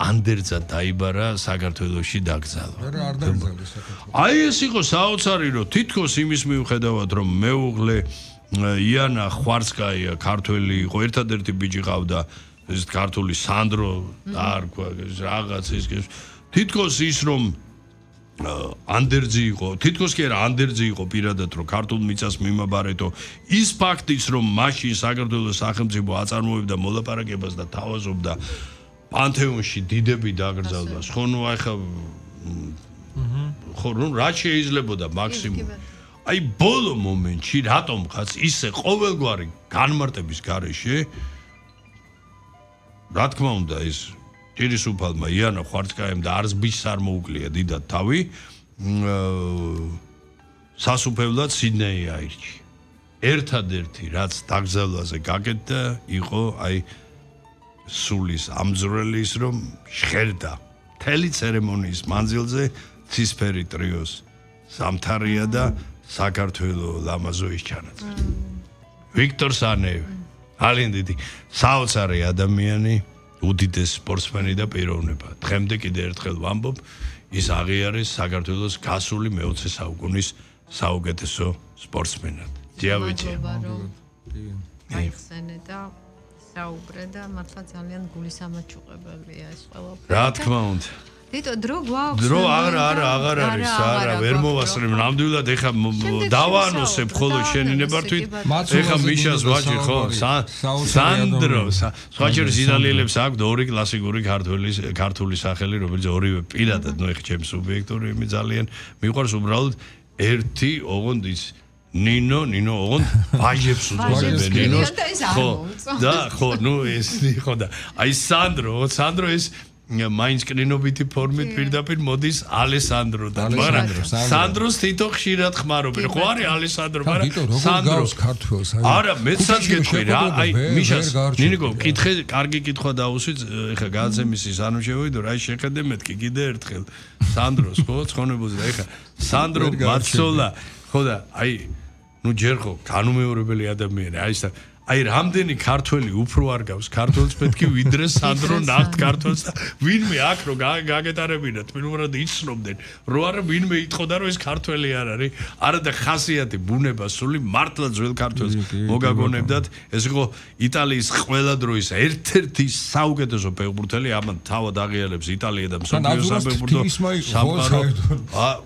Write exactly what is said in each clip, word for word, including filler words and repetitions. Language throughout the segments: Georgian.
ანდერძა დაიბარა საქართველოში დაკრძალვა. არა არ დაკრძალეს საქართველოში. აი ეს იყო საოცარი რომ თითქოს იმის მიუხედავად რომ მეუღლე იანა ხვარცკაია ქართველი იყო ერთადერთი ბიჭი ყავდა ეს ქართული სანდრო დაარქვა რაღაც ის თითქოს ის რომ ანდერძი იყო თითქოს კი არა ანდერძი იყო პირადად რომ ქართულ მიწას მიმაბარეთო ის ფაქტიც რომ მაშინ საქართველოს სახელმწიფო აწარმოებდა მოლაპარაკებას და თავაზობდა პანთეონში დიდები დაკრძალვას ხო ნუ ახლა ხო ნუ რა შეიძლებოდა მაქსიმუმ აი ბოლო მომენტში რატომღაც ისე ყოველგვარი განმარტების გარეშე რა თქმა უნდა ეს ჭირისუფალმა იანა ხვარცკაიამ და არც ბიჭს არ მოუკლია დიდად თავი სასუფევლად სიდნეი აირჩია ერთადერთი რაც დაკრძალვაზე გაკეთდა იყო აი სულის ამძვრელის რომ შხერდა მთელი ცერემონიის მანძილზე ცისფერი ტრიოს სამთარია და საქართველო ლამაზოის ჩანაწერი ვიქტორ სანევი ძალიან დიდი საოცარი ადამიანი უდიდეს სპორტსმენი და პიროვნება. დღემდე კიდე ერთხელ ვამბობ, ის აღიარეს საქართველოს გასული მეოცე საუკუნის საუკეთესო სპორტსმენად. ძიავიჭი. აიხსენე და საუბრე და მართლა ძალიან გულისამაჩუყებელია ეს ყველაფერი. რა თქმა უნდა. დიტო დრო გვაქვს დრო არა არა აღარ არის არა ვერ მოვასწრებ ნამდვილად ეხა დავანოსებ ხოლო შენი ნებართვით ეხა მიშას ვაჭი ხო სანდრო სხვაჭერის იტალიელებს აქვს ორი კლასიკური ქართული ქართული სახელი რომელიც ორივე პირადად ნუ ეხა ჩემს სუბიექტური იმი ძალიან მიყვარს უბრალოდ ერთი ოღონდ ის ნინო ნინო ოღონდ ვაჟებს უძღვებენ ნინოს ხო და ხო ნუ ეს ხო და აი სანდრო სანდრო ეს მაინც კრინობითი ფორმით პირდაპირ მოდის ალესანდროდან მაგრამ სანდროს თითო ხშირად ხმარობენ ხო არის ალესანდრო მაგრამ სანდროს ქართველს არა მეცაც გეტყვი რა აი მიშას ნინიკო კითხე კარგი კითხვა დაუსვით ეხა გააცემისის ანუ შევიდო რა შეხედე მეთქი კიდე ერთხელ სანდროს ხო ცხონებულზე ეხა სანდრო მაცოლა ხო და აი ნუ ჯერ ხო განუმეორებელი ადამიანი აი ეს აი რამდენი ქართველი უფრო არ გავს ქართველს მეთქი ვიდრე სანდრო ნახთ ქართველს და ვინმე აქ რო გაგეტარებინათ პირველად იცნობდნენ რო არა ვინმე იტყოდა რომ ეს ქართველი არ არის არა და ხასიათი ბუნება სული მართლა ძველ ქართველს მოგაგონებდათ ეს იყო იტალიის ყველა დროის ერთ-ერთი საუკეთესო ფეხბურთელი ამან თავად აღიარებს იტალია და მსოფლიო საფეხბურთო სამყარო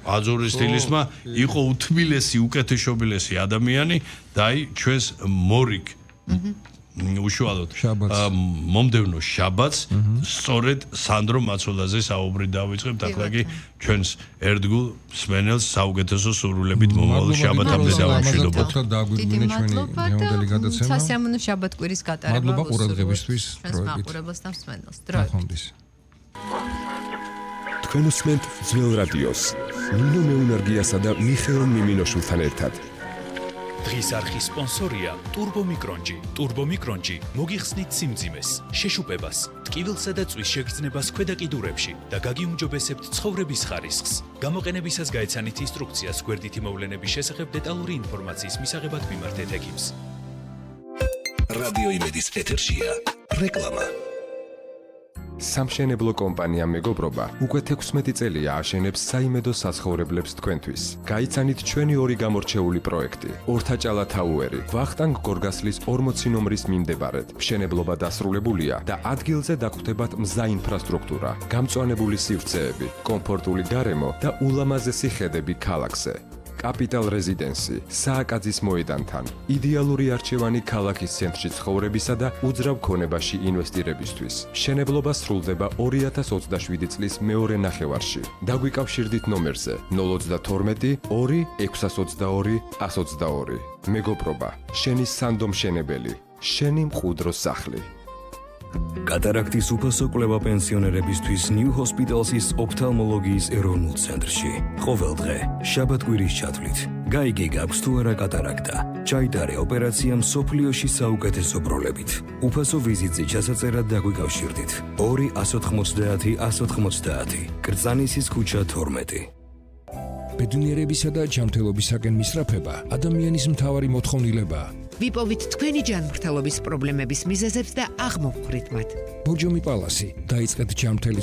აძურის სტილისმა იყო უთმილესი უკეთესობილესი ადამიანი და აი ჩვენს მორიგ უშუალოდ მომდევნო შაბათს სწორედ სანდრო მაცოლაზე საუბრი დავიწყებთ ახლა კი ჩვენს ერთგულ მსმენელს საუკეთესო სურვილებით მომავალ შაბათამდე დავამშვიდობოთ დაგვიგვინა ჩვენი ნეონდელი გადაცემა სასიამოვნო შაბათკვირის გატარება მადლობა ყურადღებისთვის მაყურებელს და მსმენელს დროებით თქვენ უსმენთ ძველ რადიოს ნინო მეუნარგიასა და მიხეილ მიმინოშვილთან ერთად დღის არხის სპონსორია ტურბომიკრონჯი. ტურბომიკრონჯი მოგიხსნით სიმძიმეს, შეშუპებას, ტკივილსა და წვის შეგრძნებას ქვედა კიდურებში და გაგიუმჯობესებთ ცხოვრების ხარისხს. გამოყენებისას გაეცანით ინსტრუქციას გვერდითი მოვლენების შესახებ დეტალური ინფორმაციის მისაღებად მიმართეთ ექიმს. რადიო იმედის ეთერშია რეკლამა. სამშენებლო კომპანია მეგობრობა უკვე თექვსმეტი წელია აშენებს საიმედო საცხოვრებლებს თქვენთვის. გაიცანით ჩვენი ორი გამორჩეული პროექტი: ორთაჭალა თაუერი, ვახტანგ გორგასლის ორმოცი ნომრის მიმდებარედ. მშენებლობა დასრულებულია და ადგილზე დაგხვდებათ მზა ინფრასტრუქტურა, გამწვანებული სივრცეები, კომფორტული გარემო და ულამაზესი ხედები ქალაქზე. კაპიტალ რეზიდენსი, სააკაძის მოედანთან, იდეალური არჩევანი ქალაქის ცენტრში ცხოვრებისა და უძრავ ქონებაში ინვესტირებისთვის. მშენებლობა სრულდება ორი ათას ოცდაშვიდი წლის მეორე ნახევარში. დაგვიკავშირდით ნომერზე ნულ ოცდათორმეტი ორი ექვსას ოცდაორი ას ოცდაორი. მეგობრობა, შენი სანდო მშენებელი, შენი მყუდრო სახლი. კატარაქტის უფასო კვლევა პენსიონერებისთვის New Hospital's ოფთალმოლოგიის ეროვნულ ცენტრში. ყოველდღე, შაბათკვირის ჩათვლით. გაიგე გაქვს თუ არა კატარაქტა. ჩაიტარე ოპერაცია მსოფლიოში საუკეთესო პროლებით. უფასო ვიზიტზე ჩასაწერად დაგვიკავშირდით. ორი ას ოთხმოცდაათი ას ოთხმოცდაათი. კრწანისის ქუჩა თორმეტი. ბედნიერებისა და ჯანმრთელობისაკენ მისწრაფება ადამიანის მთავარი მოთხოვნილებაა. ვიპოვით თქვენი ჯანმრთელობის პრობლემების მიზეზებს და აღმოვხვრით მათ. ბორჯომი პალასი, დაიწყეთ ჯანმრთელის